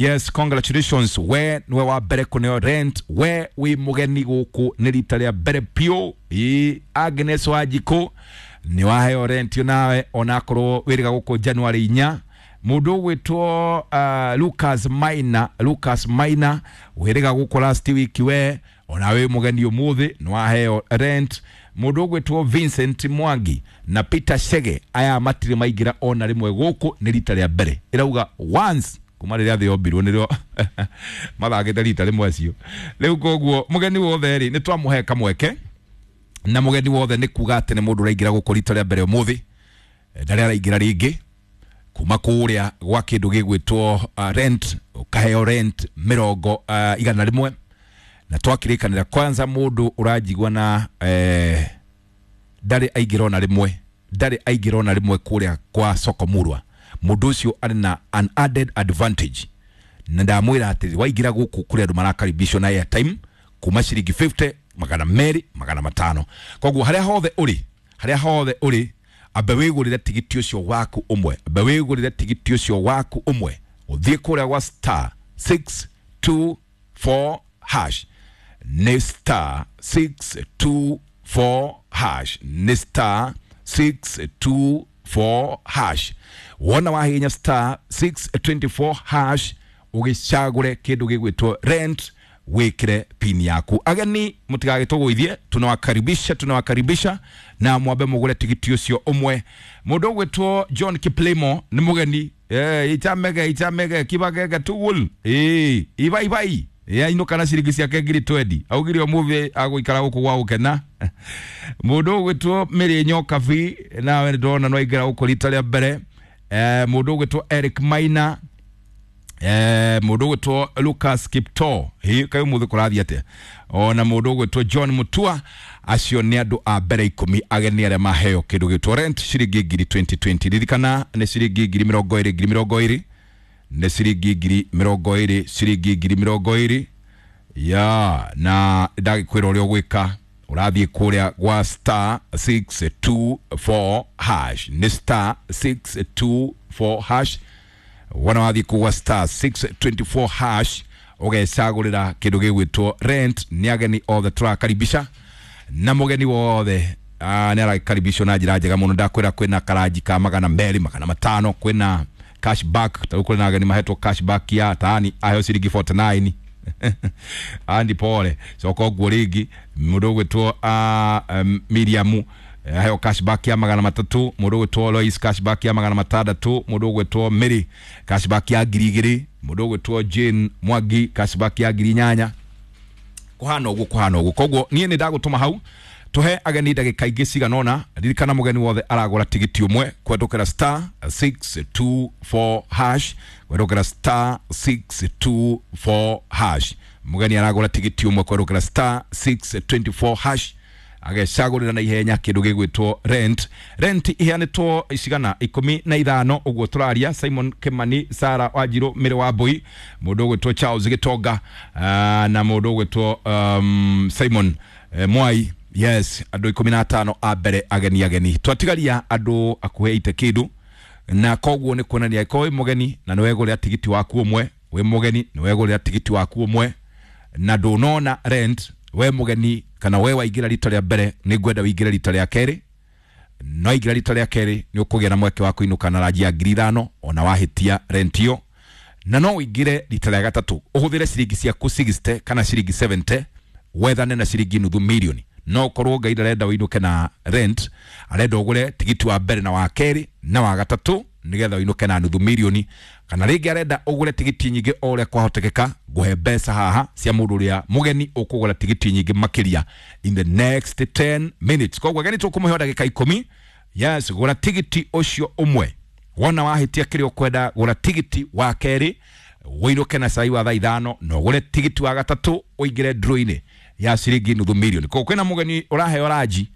Yes, congratulations, we niwe wa mbere kuneo rent, we wi mugeni guku ni rita ria mbere piu. Ii Agnes Wanjiku ni waheo rent nawe onakorwo wiriga guku January 4. Mundu ugwitwo Lucas Maina, Lucas Maina wiriga guku last week, we ona wi mugeni umuthi ni waheo rent. Mundu ugwitwo Vincent Mwangi na Peter Shege aya matire maingira ona rimwe guku ni rita ria mbere, irauga once kuma rĩrĩa thĩ yombirwo nĩrĩo mathakĩte rita rĩmwe acio. Rĩu koguo mũgeni wothe rĩ nĩ twamũhe kamweke, na mũgeni wothe nĩ kuga atĩ nĩ mũndũ ũraingĩra gũkũ rita rĩa mbere ũmũthĩ, ndarĩ araingĩra rĩngĩ kuma kũrĩa gwa kĩndũ gĩgwĩtwo rent, ũkaheo rent mĩrongo 100. Na twakĩrĩkanĩra kwanza mũndũ ũranjigua na ndarĩ aingĩra ona rĩmwe, ndarĩ aingĩra ona rĩmwe kũrĩa kwa Soko Murwa, mũndũ ũcio arĩ na an added advantage. Na ndamwĩra atĩrĩ, waingĩra gũkũ kũrĩ andũ marakaribishwo na airtime kuma ciringi 50, 200, 500. Koguo harĩa hothe ũrĩ, harĩa hothe ũrĩ, ambe wĩgũrĩre tigiti ũcio waku ũmwe, ambe wĩgũrĩre tigiti ũcio waku ũmwe, ũthiĩ kũrĩa gwa star 624 hash, nĩ star 624 hash, nĩ star 624 hash. Wona wahihinya star 624 hash ũgĩcagũre kĩndũ gĩgwĩtwo rent, wĩkĩre pin yaku. Ageni mũtigagĩtũgũithie, tunawakaribisha, tunawakaribisha na mwambe mũgũre tigiti ũcio ũmwe. Mũndũ ũgwĩtwo John Kiplimo nĩ mũgeni, ichamege ichamege kibagege tugul ibai ibai yainũka na ciringi ciake ngiri 20, augire ũmũthĩ agũikara gũkũ gwa gũkena. Mũndũ ũgwĩtwo Mĩrĩ Nyokabi nawe nĩndĩrona no aingĩra gũkũ rita rĩa mbere. Mũndũ ũgwĩtwo Eric Maina, mũndũ ũgwĩtwo Lucas Kipto, hi kaĩ ũmũthĩ kũrathiĩ atĩa? Ona mũndũ ũgwĩtwo John Mutua, acio nĩ andũ a mbere 10 ageni arĩa maheo kĩndũ gĩtwo rent ciringi ngiri 2020. Ririkana nĩ ciringi ngiri mĩrongo ĩrĩ, ngiri mĩrongo ĩrĩ, nĩ ciringi ngiri mĩrongo ĩrĩ, ciringi ngiri mĩrongo ĩrĩ ya. Na ndagĩkwĩra ũrĩa ũgwĩka, ũrathiĩ kũrĩa gwa star 624 hash, nĩ star 624 hash. Wona wathiĩ kũu gwa star 624 hash ũgecagũrĩra kĩndũ gĩgwĩtwo rent. Nĩ ageni othe tũrakaribisha, na mũgeni wothe nĩ arakaribishwo na njĩra njega mũno. Ndakwĩra kwĩna karanji ka 200, 500, kwĩna cashback. Tarĩu kwĩna ageni mahetwo cashback ya tani aheo ciringi 49. Andi pole coka ũguo rĩngĩ. Mũndũ ũgwĩtwo Miriam aheo cashback ya 300, mũndũ ũgwĩtwo Lois cashback ya 600, mũndũ ũgwĩtwo Mary cashback ya 2000, mũndũ ũgwĩtwo Jane Mwangi cashback ya 8000. Kũhana ũguo, kũhana ũguo. Koguo niĩ nĩ ndagũtũma hau tuhe ageni ndagĩka ingĩ cigana ũna. Ririkana mũgeni wothe aragũra tigiti ũmwe kwendũkĩra star 624 hash, kwendũkĩra star 624 hash. Mũgeni aragũra tigiti ũmwe kwendũkĩra star 624 hash, agecagũrĩra na ihenya kĩndũ gĩgwĩtwo rent. Rent iheanĩtwo cigana 15 ũguo tũraria. Simon Kimani, Sara Wanjiru, Mĩrĩ wa Mbui, mũndũ ũgwĩtwo Charles Gĩtonga, na mũndũ ũgwĩtwo Simon Mwai. Yes, andũ 15 a mbere ageni ageni. Twatigaria andũ akuhĩ ite kĩndũ, na koguo nĩ kuonania ko wĩ mũgeni na nĩ wegũrĩra tigiti waku ũmwe, wĩ mũgeni nĩ wegũrĩra tigiti waku ũmwe na ndũnona rent, we mũgeni kana we waingĩra rita rĩa mbere, nĩ ngwenda wĩingĩre rita rĩa kerĩ. No aingĩra rita rĩa kerĩ nĩ ũkũgĩa na mweke wa kũinũka na ranji ya 5000 ona wahĩtia rent ĩyo. Na no ũingĩre rita rĩa gatatũ ũhũthĩre ciringi ciaku 60 kana ciringi 70 wethane na ciringi nuthu milioni. No korwo Ngai ndarenda ũinũke na rent, arenda ũgũre tigiti wa mbere na wa kerĩ na wa gatatũ nĩgetha ũinũke na nuthu milioni. Kana rĩngĩ arenda ũgũre tigiti nyingĩ o ũrĩa kwahotekeka, ngũhe mbeca haha cia mũndũ ũrĩa mũgeni ũkũgũra tigiti nyingĩ makĩria in the next 10 minutes. Koguo ageni tũkũmũhe ndagĩka 10. Yes, gũra tigiti ũcio ũmwe. Wona wahĩtia kĩrĩa ũkwenda, gũra tigiti wa kerĩ ũinũke na cai wa thaa 5, na ũgũre tigiti wa gatatũ ũingĩre draw-inĩ ya ciringi nuthu milioni. Koguo kwĩna mũgeni ũraheo ranji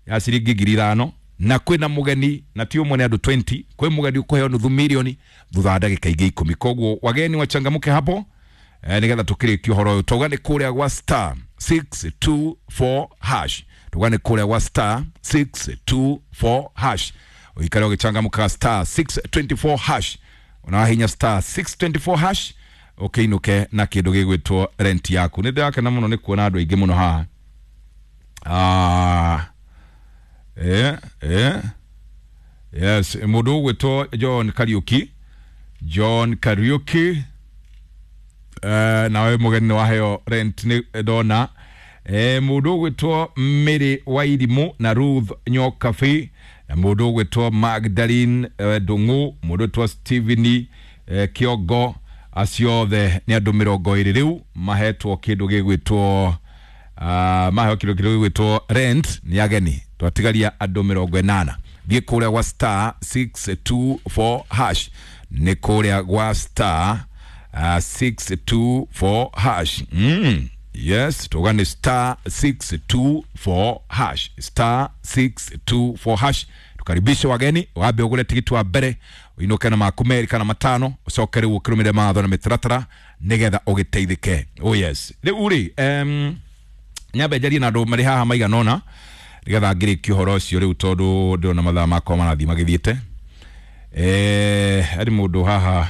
ya ciringi 5000, na kwĩna mũgeni na ti ũmwe nĩ andũ 20, kwĩ mũgeni ũkũheo nuthu milioni thutha wa ndagĩka ingĩ 10. Koguo wageni wachangamke hapo, nĩgetha tũkĩrĩkie ũhoro ũyũ. Tauga nĩ kũrĩa gwa star 624 hash, tauga nĩ kũrĩa gwa star 624 hash, ũikare ũgĩchangamka star 624 hash. Unawahinya star 624 hash. Ũkĩinũke na kĩndũ gĩgwĩtwo rent yaku. Nĩ ndĩrakena mũno nĩ kuona andũ aingĩ mũno haha. Ah, yes, mũndũ ũgwĩtwo John Kariuki, John Kariuki, nawe mũgeni nĩ waheo rent nĩ ndona. Mũndũ ũgwĩtwo Mary Wairimu na Ruth Nyokabi, na mũndũ ũgwĩtwo Magdalene Ndung'u, mũndũ ũgwĩtwo Stephen Kiongo, acio othe nĩ andũ 20 rĩu mahetwo kĩndũ gĩgwĩtwo maheo kĩndũ gĩgwĩtwo rent nĩ ageni. Twatigaria andũ 80. Thiĩ kũrĩa gwa star 624 hash, nĩ kũrĩa gwa star 624 hash. Yes, tuga nĩ star 624 hash, star 624 hash. Tukaribishe wageni, wambe ũgũre tigiti wa mbere ũinũke na maku merĩ kana matano, ũcoke rĩu ũkĩrũmĩrĩre mawatho na mĩtaratara nĩgetha ũgĩteithĩke. Oh yes, rĩu rĩ, nyambe njarie na andũ marĩ haha maigana ũna nĩgetha ngĩrĩkie ũhoro ũcio rĩu, tondũ ndĩrona mathaa makwa marathiĩ magĩthiĩte. Harĩ mũndũ haha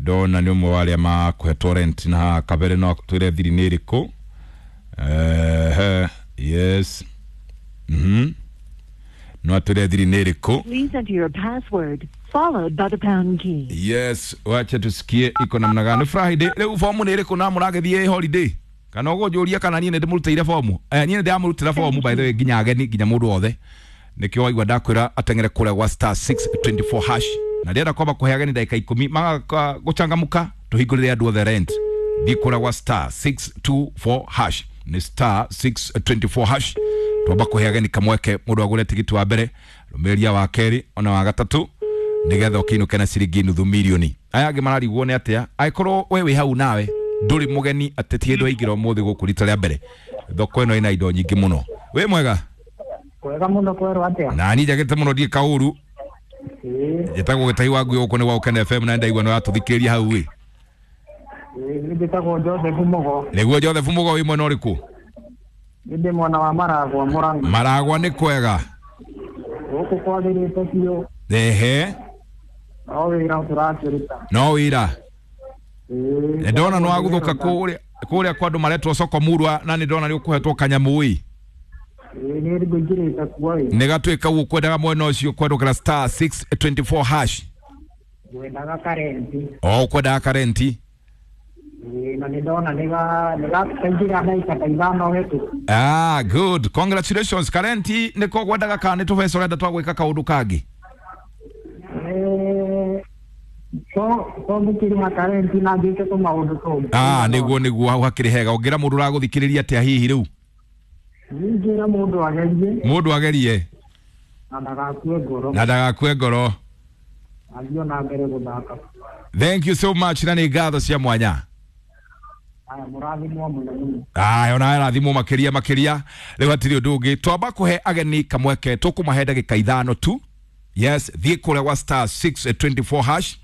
ndona nĩ ũmwe wa arĩa makũhetwo rent na haha kabere no twĩre thiri nĩ ĩrĩkũ. Yes, no atwĩre thiri nĩ ĩrĩkũ. Please enter your password followed by the pound key. Yes, wacha tusikie iko namna gani. Friday rĩu fomu nĩ ĩrĩkũ na mũragĩthiĩ holiday kana ũgũnjũria kana niĩ nĩ ndĩmũrutĩire fomu? Niĩ nĩ ndĩramũrutĩra fomu, by the way, nginya ageni, nginya mũndũ wothe. Nĩkĩo waigua ndakwĩra ateng'ere kũrĩa gwa star 624 hash, na ndĩrenda kwamba kũhe ageni ndagĩka 10 maga gũcangamũka tũhingũrĩre andũ othe rent. Thiĩ kũrĩa gwa star 624 hash, nĩ star 624 hash. Twamba kũhe ageni kamweke, mũndũ agũre tigiti wa mbere, rũmĩrĩria wa kerĩ ona wa gatatũ, nĩgetha ũkĩinũke na ciringi 500,000. Aya angĩ mararigwo nĩ atĩa angĩkorwo we wĩ hau nawe ndũrĩ mũgeni atĩ ti hĩndĩ waingĩra ũmũthĩ gũkũ rita rĩa mbere. Thoko ĩno ĩna indo nyingĩ mũno. Wĩ mwega? Kwega mũno, kwerwo atĩa? Na niĩ njagĩte mũno, ndiĩ kaũru. Njĩtagwo Gĩtahi wa Ngui, gũkũ nĩ gwa Ũkene FM, na ndaigua nĩ watũthikĩrĩria hau ĩ. Ĩĩ, njĩtagwo Joseph Mũgo. Nĩguo Joseph Mũgo, wĩ mwena ũrĩkũ? Nĩ ndĩ mwena wa Maragwa, Mũrang'a. Maragwa nĩ kwega? Gũkũ kwagĩrĩte biũ. Ehe. No wĩra tũrakĩruta. No wĩra. Ĩĩ. Ndona nĩ wagũthũka kũrĩa kwa andũ maretwo soko murwa, na nĩ ndona nĩ ũkũhetwo kanyamũ ĩ. Ĩĩ, nĩ ngũingĩrĩte kuo ĩ. Nĩ gatuĩka ũguo kwendaga mwena ũcio kwendũkĩra star 624 hash. Ngwendaga karenti. O kwendaga karenti. Ĩĩ, na nĩ ndona nĩ kaingĩra ndagĩka ta 5 hetũku. Ah, good, congratulations. Karenti nĩko gwendaga kana nĩ tũbeca ũrenda twa gwĩka kaũndũ kangĩ? To ngũkĩrĩha karenti na njĩke tũmaũndũ tũngĩ. Ah, nĩguo nĩguo, hau hakĩrĩ hega. Ũngĩra mũndũ ũragũthikĩrĩria atĩa hihi rĩu? Ningĩra mũndũ agerie. Mũndũ agerie. Na ndagakue ngoro. Na ndagakue ngoro. Athiĩ na mbere gũthaka. Thank you so much, na nĩ ngatho cia mwanya. Aya, mũrathimwo mũno mũno. Aya, ona rathimwo makĩria makĩria. Rĩu hatirĩ ũndũ ũngĩ, twamba kũhe ageni kamweke, tũkũmahe ndagĩka 5 tu. Yes, thiĩ kũrĩa gwa star 624 hash.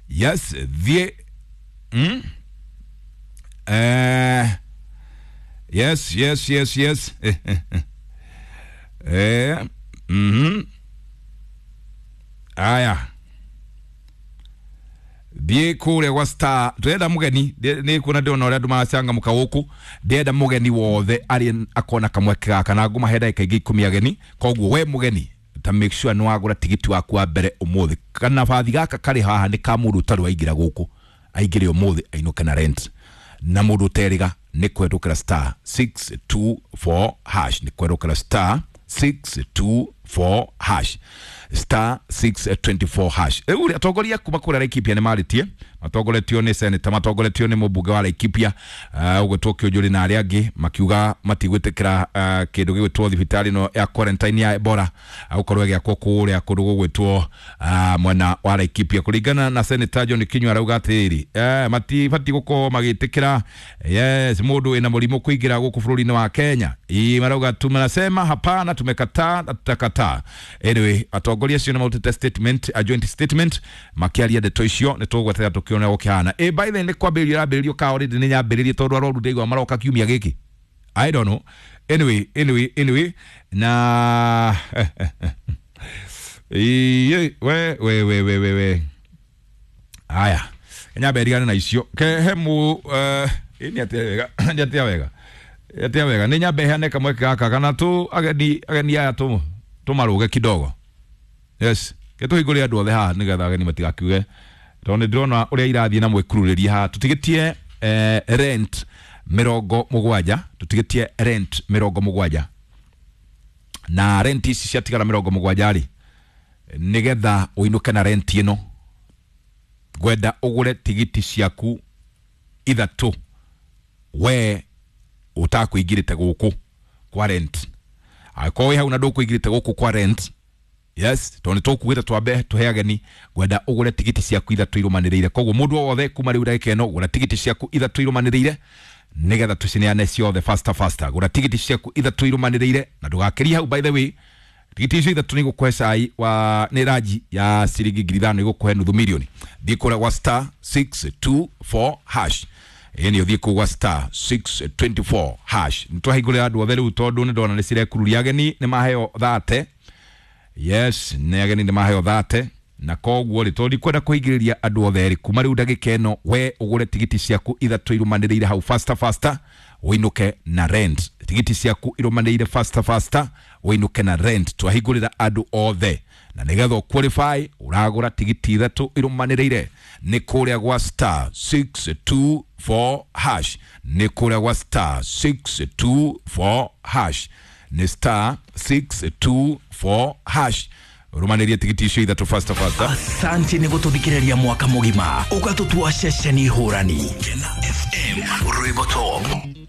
Yes, thiĩ. Yes, yes, yes, yes. Aya, thiĩ kũrĩa gwa star, ndĩrenda mũgeni, nĩ kuona ndĩrona ũrĩa andũ maracangamũka gũkũ, ndĩrenda mũgeni wothe arĩ akona kamweke gaka, na ngũmahe ndagĩka ingĩ 10 ageni. Koguo we mũgeni ta make sure nĩ wagũra tigiti waku wa mbere ũmũthĩ. Kana bathi gaka karĩ haha nĩ ka mũndũ ũtarĩ waingĩra gũkũ, aingĩre ũmũthĩ ainũke na rent. Na mũndũ ũterĩga nĩ kwendũkĩra star 624 hash, nĩ kwendũkĩra star 624 hash, star 624 hash. Rĩu rĩ, atongoria kuma kũrĩa Laikipia nĩ marĩtie, matongoretio nĩ seneta, matongoretio nĩ mũmbunge wa Laikipia ũgwĩtwo Kĩũnjũrĩ na arĩa angĩ, makiuga matigwĩtĩkĩra kĩndũ gĩgwĩtwo thibitarĩ ĩno ya quarantine ya Ebola gũkorwo ĩgĩakwo kũrĩa kũndũ gũgwĩtwo mwena wa Laikipia. Kũringana na seneta John Kinyua, arauga atĩrĩrĩ, matibatiĩ gũkorwo magĩtĩkĩra, yes, mũndũ wĩna mũrimũ kũingĩra gũkũ bũrũri-inĩ wa Kenya. Ii, marauga tunasema hapana, tumekataa na tutakataa. Anyway, atongoria acio nĩ marutĩte statement, a joint statement, makĩaria ndeto icio, nĩ tũgweterera tũkĩone gũkĩhana. By the way, nĩ kwambĩrĩrio ĩrambĩrĩrio ka already nĩ nyambĩrĩrie, tondũ arwaru ndaigua maroka kiumia gĩkĩ. I don't know. Anyway, anyway, anyway, na Iye, we we we we we we. Aya, Nyambe rigane na icio ke he mu ni atia wega, ni atia wega, atia wega. Ni nyambe heane kamweke gaka kana tu ageni ageni aya tu tumaruge kidogo. Yes, ke tuhingũre andũ othe haha nĩgetha ageni matigakiuge tondũ nĩ ndĩrona ũrĩa irathiĩ na mwĩkururĩria haha. Tũtigĩtie rent 70, tũtigĩtie rent 70, na rent ici ciatigara 70 rĩ, nĩgetha ũinũke na rent ĩno ngwenda ũgũre tigiti ciaku ithatũ we ũtakũingĩrĩte gũkũ kwa rent. Angĩkorwo wĩ hau na ndũkũingĩrĩte gũkũ kwa rent, yes, tondũ nĩtũkugĩte twambe tũhe ageni, ngwenda ũgũre tigiti ciaku ithatũ irũmanĩrĩire. Koguo mũndũ o wothe kuma rĩu ndagĩka ĩno gũra tigiti ciaku ithatũ irũmanĩrĩire nĩgetha tũcineane ciothe faster faster. Gũra tigiti ciaku ithatũ irũmanĩrĩire na ndũgakĩrie hau. By the way, tigiti icio ithatũ nĩigũkũhe cai wa nĩ ranji ya ciringi 5,000, igũkũhe nuthu milioni. Thiĩ kũrĩa gwa star 624 hash, ĩni ũthiĩ kũu gwa star 624 hash. Nĩtwahingũrĩra andũ othe rĩu tondũ nĩndona nĩcirekururia ageni nĩmaheo 30. Yes, nĩ ageni nĩ maheo 30, na koguo rĩ tondũ ndikwenda kũhingĩrĩria andũ othe rĩ, kuma rĩu ndagĩka ĩno we ũgũre tigiti ciaku ithatũ irũmanĩrĩire hau faster faster ũinũke na rent. Tigiti ciaku irũmanĩrĩire faster faster ũinũke na rent. Twahingũrĩra andũ othe na nĩgetha ũqualify ũragũra tigiti ithatũ irũmanĩrĩire nĩ kũrĩa gwa star 624 hash, nĩ kũrĩa gwa star 624 hash, nĩ star 624 hash ũrũmanĩrie tigiti icio ithatũ faster faster. Asante nĩ gũtũthikĩrĩria mwaka mũgima ũgatũtua ceceni hũrani. Gũkena FM, rwĩmbo top.